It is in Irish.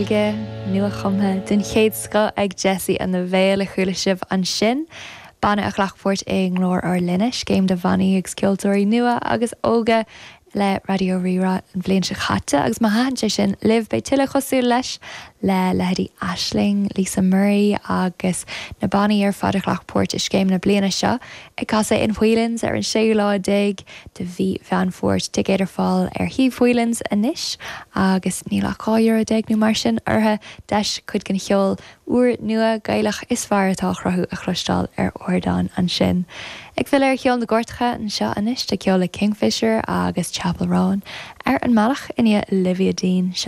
Gaeilge nua-chumtha den chéad scoth ag Jessie and the Veil a chuala sibh ansin. Banna a ghlac páirt i nGlór Ár Linne, scéim do bhannaí agus ceoltóirí nua agus óga le Raidió Rí-Rá an bhliain seo caite agus má thaitin sé sin libh beidh tuilleadh cosúil leis le leithéidí Aisling, Lisa Murray agus na bannaí ar fad a ghlac páirt i scéim na bliana seo ag casadh in Whelan's ar an séú lá déag de mhí Mheán Fómhair. Ticéid ar fáil ar shuíomh Whelan's anois agus níl ach €12 euro nó mar sin orthu. Deis cuid den cheol úr nua Gaelach is fearr atá á chruthú a chloisteáil ar ardán ansin. Ag filleadh ar cheol na gcairteacha anseo anois tá ceol le Kingfisher agus Chappell Roan ar an mbealach i ndiaidh Olivia Dean.